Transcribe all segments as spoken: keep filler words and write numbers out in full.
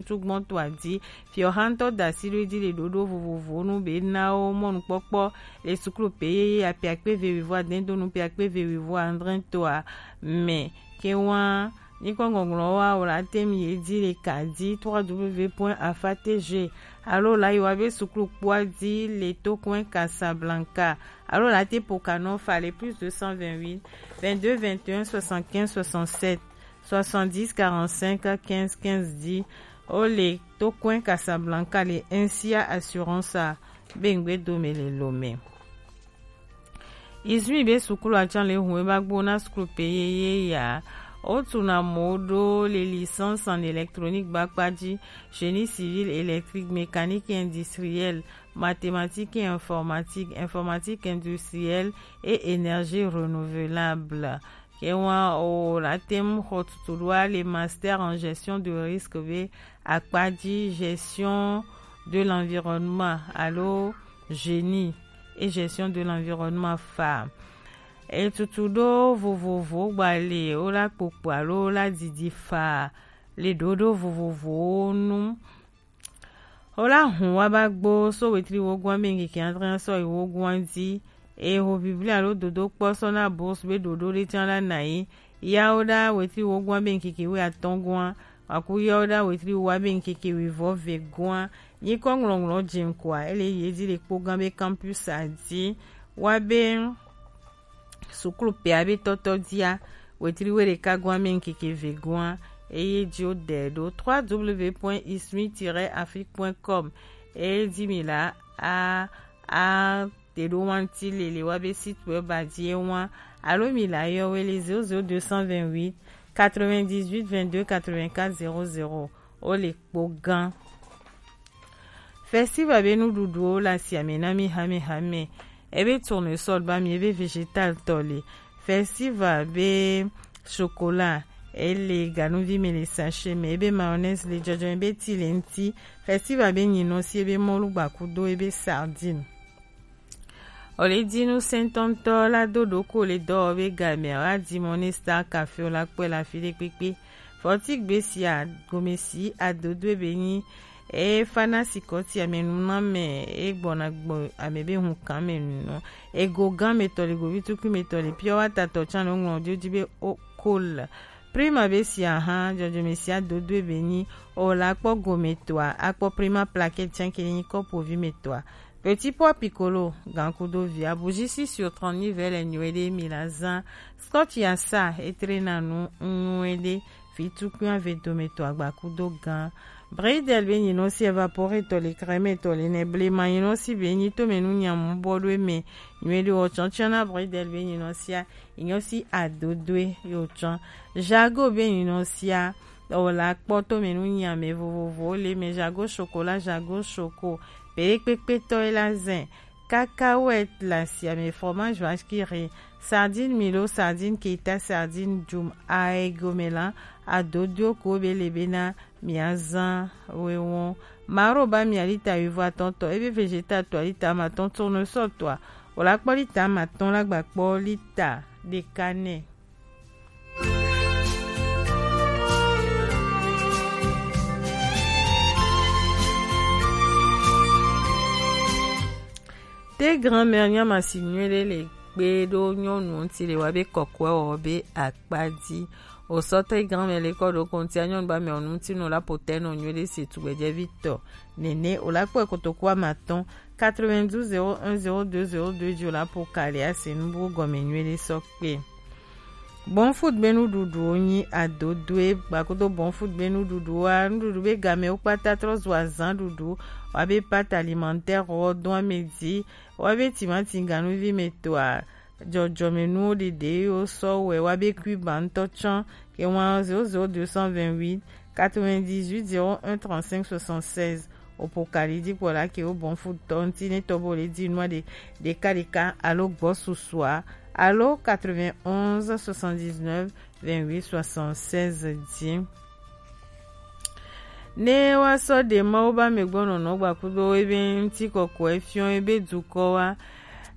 sugbɔn to adi. Fiɔha ŋutɔ da asi ɖo edzi le ɖoɖo vovovowo nu be na wo mɔnukpɔkpɔ le suklu pe yeye apiakpe ve wivo adɛn do nu piakpe ve wivo adre toa me. Ke wa nyikɔ ŋɔŋlɔ wa o la tem ye dzi le ka dzi trois W point afa T G alo la yi wa be suklu kpɔa dzi le Tokwen Casablanca alo la te pokanɔ fa le plus deux cent vingt-huit, vingt-deux, vingt et un, soixante-quinze, soixante-sept, soixante-dix, quarante-cinq, quinze, quinze dzi. O le Tokwen Casablanca le N C A Assurance a be ŋgbe dome le Lomé. Izui be sukulu atsan le hun e ba gbo na sukulu pe yeye ya. O tu na mo do le licence en électronique ba kpa dzi, génie civil, électrique, mécanique et industriel, mathématiques et informatique, informatique industrielle et énergie renouvelable. Ke wa o la tem xɔ tutu ɖo a le master en gestion de risque be akpa dzi gestion de l'environnement alo génie et gestion de l'environnement fa. E tutu ɖo vovovowo gba le o la kpokpo alo o la didi fa le ɖoɖo vovovowo nu. O la hun wa ba gbo so wetri wogun be ŋkeke adre so yi wogun dzi. E ho biblia lo dodo kpɔ sɔ na bourse be ɖoɖo ɖe tiã la na yi. Ya o ɖa wetri wogun be ŋkeke we atɔn gua. Aku ya o ɖa wetri wa be ŋkeke we vɔ ve gua. Nyikɔ ŋlɔŋlɔ dze ŋkɔa ele yi edzi le kpo gã be campus a dzi. Wa be sukulu pea be tɔtɔ dzia, wetri we ɖeka gua me ŋkeke ve gua, eye dzi wo de ɖo trois W point ismi tiret afrique point com. Eye dzi mi la a a te ɖo wanti lele wa be site web a dzi e wan alo mi la yɔ we le zéro zéro deux cent vingt-huit quatre-vingt-dix-huit vingt-deux quatre-vingt-quatre zéro zéro. O le kpo gã. Festival be nuɖuɖuwo le asiame na mí hamehame. Ebe tournesol ba mi ebe végétal tɔ le. Festival be chocolat ele ganuvi me le sachet me, ebe mayonnaise le jɔjɔ ebe ti le ŋti. Festival be nyinɔsi ebe mɔlu gbakudo ebe sardine. O le dinu sentɔntɔ la do ɖoko le dɔwɔbe game wa di mɔ ne Star Cafe o la kpɔe le afi ɖe kpekpe. Fɔti gbe sia gome si adodoe be nyi e fana sikɔti ame nu na me e gbɔna gbɔ ame be hun kan me nu. Ego gan me tɔ le govi tukui me tɔ le pure water tɔ tsan le ŋlɔ dio di be o kol. Prima be sia hã dzɔdzɔme sia dodoe be nyi o la kpɔ gome tɔa akpɔ prima plaquette tsan ke nyi kɔpu vi me tɔa. Petit pois piccolo, gan kudo via, bougie six sur trente-neuf vɛ le nyuie ɖe mi la zã. Scotch ya sa etre na nu nyuie ɖe, vi tukui ave dome to agba kudo gan. Bridel be nyinɔ si evaporator le crème to le ne blema nyinɔ si be nyi to me nu nyamu bɔ ɖo me nyuie ɖe o tsɔntsɔn na bridel be nyinɔ sia nyinɔ si adodoe yo tsɔn. Jago be nyinɔ sia o la kpɔ to me nu nya me vovovo le me jago chocolat jago choco. Pere kpekpetɔ ye la zɛ. Cacahuète le asiame, fromage vache qui rit, sardine milo, sardine keta, sardine djum, aigomela, adodio ko be le bena miazã wewon. Maro ba mia lita wivo atɔntɔ, ebe vegeta tɔ lita matɔn, tournesol tɔa o la kpɔ lita matɔn la gba kpɔ lita ɖeka nɛ. Te grand-mère nya masi nyuie ɖe le kpe ɖo nyɔnu ŋuti le wa be kɔkɔe wɔ be akpa dzi. O sɔ te grand-mère le kɔ ɖo kontia nyɔnu ba mɛ o ŋuti no la potɛ nɔ nyuie ɖe se tugbɛdze vi tɔ. Nene o la kpɔ kotoku amatɔn quatre-vingt-douze zéro un zéro deux zéro deux dzi o la po kali ase nu bu gɔme nyuie ɖe sɔ kpe. Bon food be nuɖuɖuwo nyi adodoe gbakudo bon food be nuɖuɖuwoa nuɖuɖu be gamewo kpata trɔ zu azã ɖuɖu wa be pâte alimentaire wɔ dɔn ame dzi wa be timati ganuvi me toa dzɔdzɔmenuwo ɖeɖe yo sɔ wɛ wa be cuiba ŋutɔ tsã ke wan zéro zéro deux cent vingt-huit quatre-vingt-dix-huit zéro un trente-cinq soixante-seize. Opo kali dikpɔla ke wo bon food tɔ ŋuti ne tɔ bo le di nua ɖe ɖeka ɖeka alo gbɔ susua alo quatre-vingt-onze soixante-dix-neuf vingt-huit soixante-seize dzi. Ne wa sɔ ɖe Mawu ba me gbɔ nɔnɔ gbakudo ebe ŋuti kɔkɔe fiɔ ebe dukɔ wa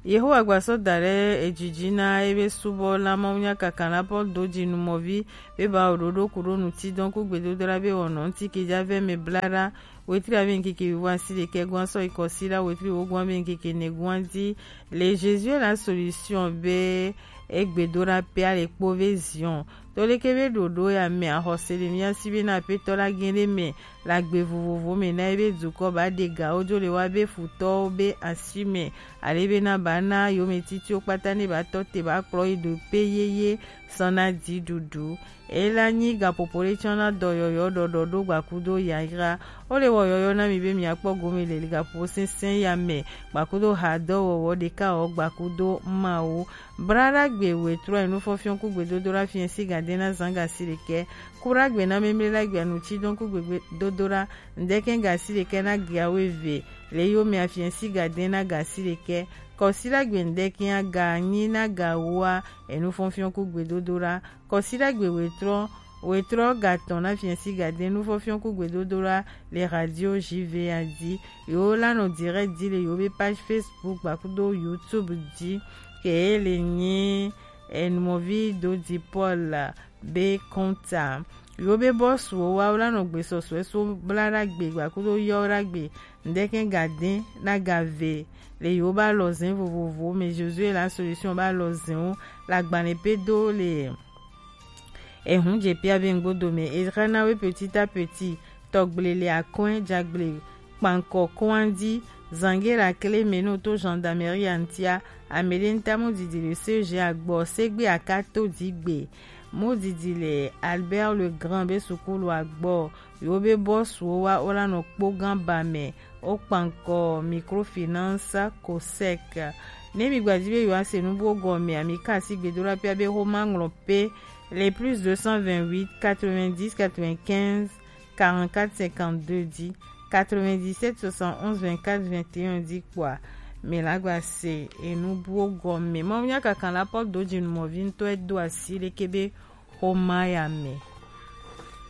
Yehowa gba sɔ da ɖe ejiji na ebe subɔ la Mawu nya kaka na Paul do ji numɔvi be ba oɖoɖo ku ɖo nuti dɔn ku gbedodo la be wɔnɔ ŋuti ke ja vɛ me bla ɖa wetri ave ŋkeke wiwo asi ɖekɛ gɔn sɔ yi kɔsi la wetri wo gɔn be ŋkeke ne gɔn di le Jésus la solution be egbedo la pe ale kpo ve Zion. To leke be ɖoɖo ya me axɔse le mía si be na aƒetɔ la gɛn ɖe me le agbe vovovo me na ebe dukɔ ba ɖe ga wo jo le wa be futɔwo be asi me ale be na ba na yome titiwo kpata ne ba tɔ te ba kplɔ yi ɖo pe yeye sɔ na di ɖuɖu. Ela nyi gaƒoƒo ɖe tsɔ na dɔyɔyɔ ɖɔɖɔ ɖo gbakudo yayra. Wo le wɔ yɔyɔ na mi be mia kpɔ gome le gaƒoƒo sɛnsɛn ya me gbakudo hadɔwɔwɔ ɖeka wɔ gbakudo Mawu. Braɖagbe wetrɔ enu fɔfiɔ ku gbedodo la fiɛ si gade na zan gasi ɖekɛ. Kuɖagbe na memle la gbia nu tsi dɔn ku gbegbe dodo la ŋdɛkɛ gasi ɖekɛ na gia wo eve le yo me afiɛ si gade na gasi ɖekɛ. Kɔsi la gbe ŋdɛkɛ aga nyi na ga woa enu fɔfiɔ ku gbedodo la. Kɔsi la gbe wetrɔ wetrɔ gatɔn na fiɛ si gade nu fɔfiɔ ku gbedodo la le radio J V A di. Yo la nɔ direct di le yo be page Facebook gbakudo YouTube di. Ke le nyi enumɔvi do di Paul be kɔnta. Yo be bɔsuwo wa wo la nɔ gbesɔsɔe so bla ɖagbe gbakudo yɔ ɖagbe ŋdɛkɛ gade na gave le yo ba lɔ zɛn vovovo me Josué la solution ba lɔ zɛn wo la gbalẽ pe do le ehun je pia be ŋgbodo me e xana we petit à petit tɔgble le akɔn jagble kpankɔ kɔn di zange la kle me no to gendarmerie antia amede nta mo didi le C G agbɔ segbe akato digbe mo didi le Albert le Grand be sukulu agbɔ yo be bɔsuwo wa wo la nɔ kpo gan ba me wo kpankɔ microfinance cosec. Ne mi gbadi be yo ase nu bo gɔme ami kasi gbedo la pia be ho ma ŋlɔ pe le plus deux cent vingt-huit quatre-vingt-dix quatre-vingt-quinze quarante-quatre cinquante-deux di quatre-vingt-dix-sept soixante-onze vingt-quatre vingt et un di kpɔa mi la gba se enu buwo gɔme. Mawu nya kaka la pɔ do dzi numɔvi ŋutɔ edo asi leke be xoma ya me.